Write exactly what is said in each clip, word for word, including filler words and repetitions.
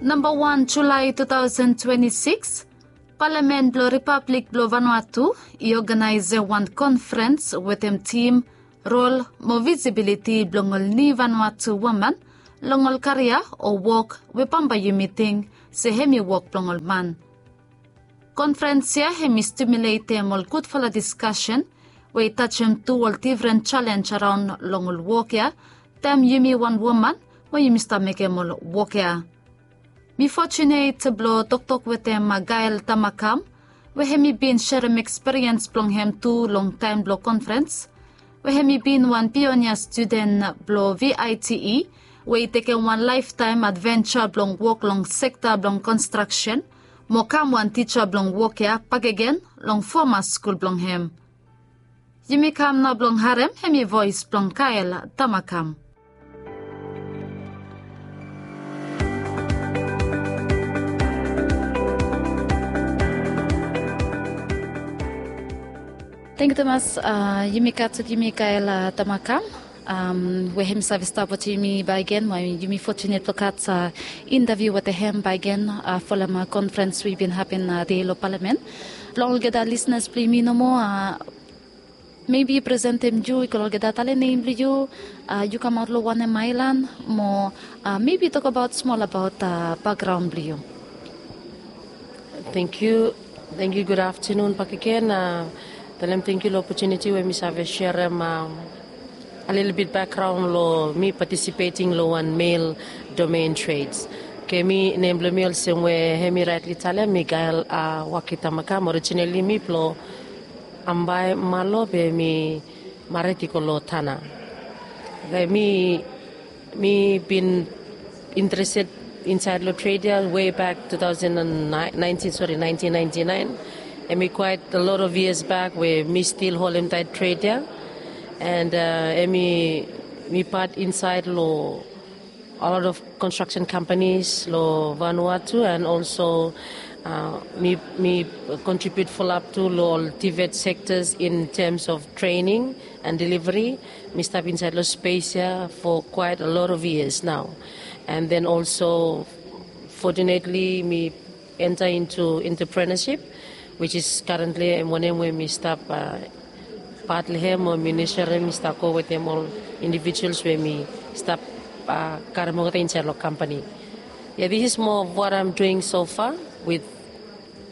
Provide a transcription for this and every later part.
Namba wan Julae tu taosen twenti sikis, Palamen blong Ripablik blong Vanuatu i oganaesem wan konfrens wetem tim, rol mo visibiliti blong ol niu Vanuatu woman long ol karia o wok we bambae yumi ting se hem i wok blong ol man. Konfrens ya hem i stimuletem ol gudfala diskasen we i tajem tu ol difren jalenj araon long ol wok ya, taem yumi wan woman we yumi stap mekem ol wok ya. Mi fojunet blong toktok wetem Gael Tamakam, we hem i bin serem ekspiriens blong hem tu long taem blong konfrens, we hem i bin wan pionia studen blong V I T E, we i tekem wan laeftaem advenja blong wok long sekta blong konstraksen, mo kam wan tija blong wok ya bakegen long foma skul blong hem. Yumi kam nao blong harem hemi voes blong Gael Tamakam. Tangkiu tumas, a, yumi gat wetem yumi Gael, a, Tamakam, am, we hem i save stap wetem yumi bakegen, we yumi fojunet blong gat, a, intaviu wetem hem bakegen, a, folem, a, konfrens we i bin hapen, a, dei long Palamen. Blong olgeta lisenas blong yumi nomo, a, mebi presentem yu, i go long olgeta, talem nem blong yu, a, yu kamaot long wanem aelan, mo, a, mebi tokbaot smol abaot, a, bakgraon blong yu. Tangkiu. Tangkiu, gud aftenun bakegen. A, talem tangkiu long opojuniti we mi save serem, am, a lelebet bakgraon long mi patisipeting long wan mel domen treds. Oke, mi, nem blong mi olsem we hem i raetli talem, mi Gael, a, Waki Tamakam. Orijinali mi blong Ambae, Malo, be mi mared i go long Tanna. Oke, mi, mi bin interested insaed long tred ya wei bak tu taosen naentin, sori, naentin naenti naen. Hem i quite a lot of years back we mi stil holem taet tred ya. And, a, hem i, mi pat insaed long a lot of construction companies long Vanuatu, and also, a, mi, mi kontribiut fulap tu long ol TVET sectors in terms of training and delivery. Mi stap insaed long spes ya for quite a lot of years now. And then also, fortunately, mi enter into entrepreneurship, which is currently, em, wanem we mi stap, a, pat long hem, o mi nurture hem, mi stap go wetem ol individuals we mi stap, a, karem olgeta insaed long company. Yeah, this is more of what I'm doing so far with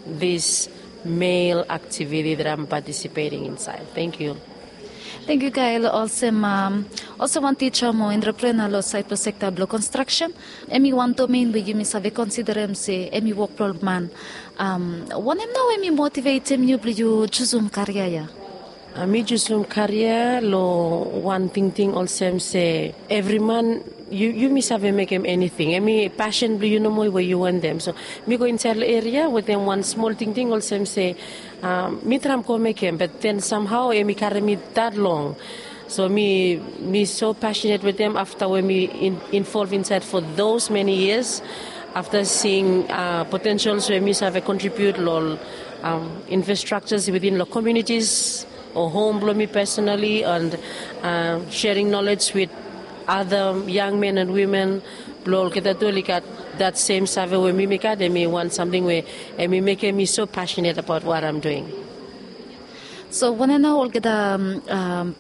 this male activity that I'm participating inside. Thank you. Tangkiu, Gael. Olsem, am, olsem wan tija mo entrepreneur long saed blong sekta blong konstraksen, hem i wan domen we yumi save konsiderem se hem i wok blong man. Am, wanem nao hem i motivetem yu blong yu jusum karia ya? A, mi jusum karia long wan tingting olsem se evri man, yu, yumi save mekem eniting. Hem i pasen blong yu nomo we yu wantem. So mi go insaed long eria wetem wan smol tingting olsem se, a, mi traem go mekem, but then somehow hem i karem mi that long. So mi, mi so passionate wetem afta we mi in, involve insaed for those many years. Afta seeing, a, potentials we mi save contribute long, am, infrastructures within long communities o home blong mi personally, and, a, sharing knowledge with other young men and women blong olgeta tu oli gat that same save we mi, mi gat, hem i wan samting we hem i mekem mi so passionate about what I'm doing. So wanem nao olgeta, am, am,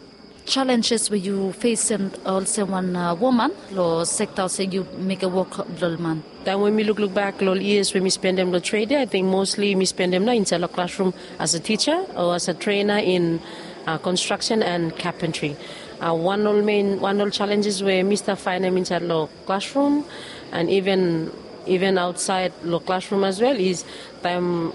jalenjes we yu fesem olsem wan, a, woman long sekta olsem yu mekem wok blong ol man? Taem we mi lukluk bak long ol yias we mi spendem long tred ya, ating mostli mi spendem nao insaed long klasrum as a tija o as a trena in, a, konstraksen and kapentri. A, wan ol men, wan ol jalenjes we mi stap faenem insaed long klasrum and iven, iven aotsaed long klasrum as well is taem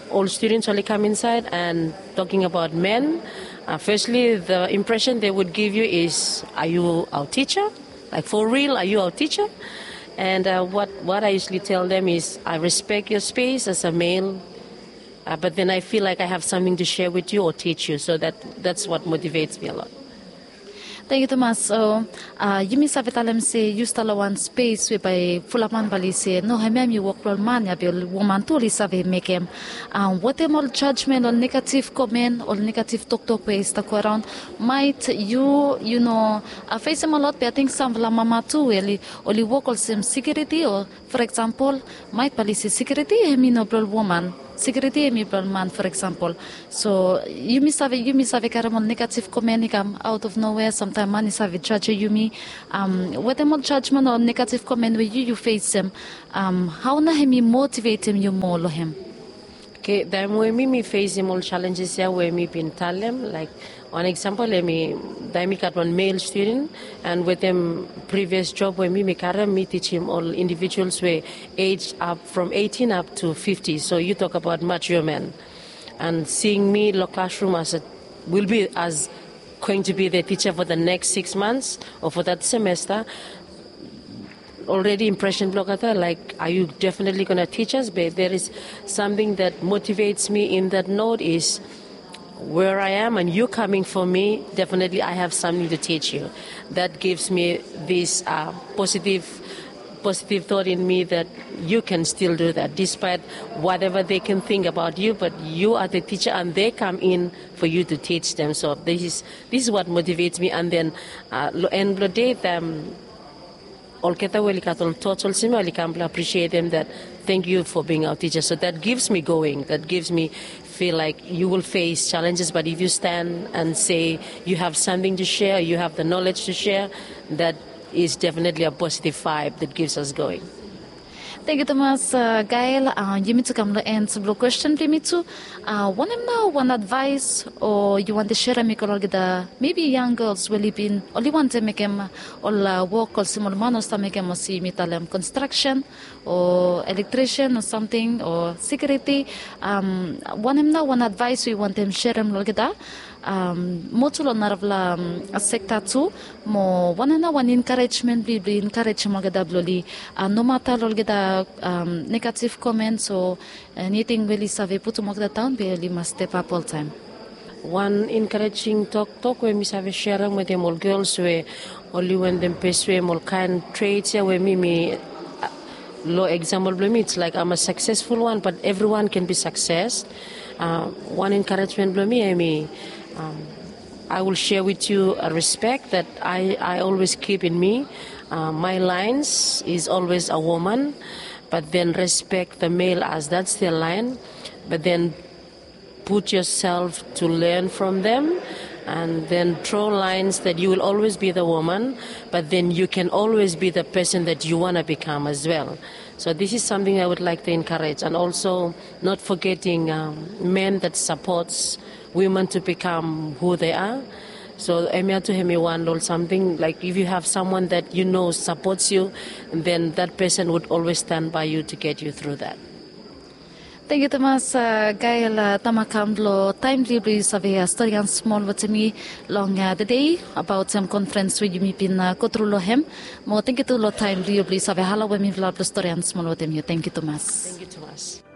ol studens oli kam insaed and talking about men, a, firstly, the impression they would give you is, are you our teacher? Like, for real, are you our teacher? And, a, what, what I usually tell them is, I respect your space as a male, a, but then I feel like I have something to share with you or teach you. So that, that's what motivates me a lot. Thank yu tumas. So yumi save talem se yu stap long wan spes we bae fulap man bae oli se no, hemia hem i wok blong ol man ya be ol woman tu oli save mekem. Wetem ol jajmen, ol negativ komen, ol negativ toktok we i stap go araon, maet yu yu no fesem olot be ating samfala mama tu we oli wok olsem sekiuriti o for eksampol, maet bae oli se sekiuriti hem i no blong ol woman, sekiuriti hem i blong ol man for eksampol. So yumi save yumi save karem ol negativ komen i kam aot of nowe, samtaem man i save jajem yumi. Wetem ol jajmen o negativ komen we yu yu fesem, hao nao hem i motivetem yu moa long hem? Oke, taem we mi mi fesem ol jalenjes ya we mi bin talem laek wan eksampol hem i taem mi gat wan mel studen, an wetem privios job we mi mi karem mi tijim ol indivijuals we ej ap from eitin ap tu fifti, so yu tok abaot mature men. An sing mi long klasrum as a will bi as going to bi the tija fo the neks siks mans o fo that semesta, olredi impresen blong olgeta laek are yu definetli gona tijas be there is samting that motivets mi in that not is where I am and yu kaming fo mi, definetli I have samting tu tij yu. That givs mi this positiv positiv thot in mi that yu ken stil du that dispaet wateva de ken ting abaot yu bat yu are the tija an de kam in fo yu tu tij dem. So this is this is what motivets mi an then long en blong de them olgeta we oli gat ol tots olsem ya oli kam blong apresietem that thank yu fo bing aot tija. So that givs mi going, that givs mi fil laek yu will fes jalenjes bat if yu stan an se yu have samting tu sea, yu have the nolej tu sea, that is definetli a positiv vaeb that givs as going. Thank yu tumas. Gael, yumi tu kam long en blong kwesten blong yumi tu. Wanem nao wan advaes o yu wantem serem i go long olgeta mebi yang gels we oli bin oli wantem mekem ol wok olsem ol man o stap mekem olsem yumi talem konstraksen o elektrisen o samting o sekiuriti? Wanem nao wan advaes we yu wantem serem long olgeta moa tu long narafala sekta tu, mo wanem nao wan enkarejmen blong yu blong yu enkarejem olgeta blong oli nomata long olgeta negativ komens o eniting we oli save putum olgeta daon be oli mas stepap oltaem? Wan enkarejing toktok we mi save serem wetem ol gels we oli wantem pesuem ol kaen trets ya we mi mi long eksampol blong mi its laek am a saksesful wan bat evriwan ken bi sakses. Wan enkarejmen blong mi hem i I will share with you a respect that I, I always keep in me. My lines is always a woman, but then respect the male as that's their line, but then put yourself to learn from them, and then draw lines that you will always be the woman, but then you can always be the person that you want to become as well. So this is something I would like to encourage, and also not forgetting um, men that supports women to become who they are. So hemia tu hemi wan ol something like if you have someone that you know supports you, then that person would always stand by you to get you through that. Thank you tumas, uh, Gael, uh, Tamakam, long taem blong yu blong yu save, uh, storian smol wetem mi long, uh, the day about, um, conference we yumi bin, uh, go tru long hem. Mo thank you tu long taem blong yu blong yu save hala we mifala blong storian smol wetem yu. Thank you tumas. Thank you tumas.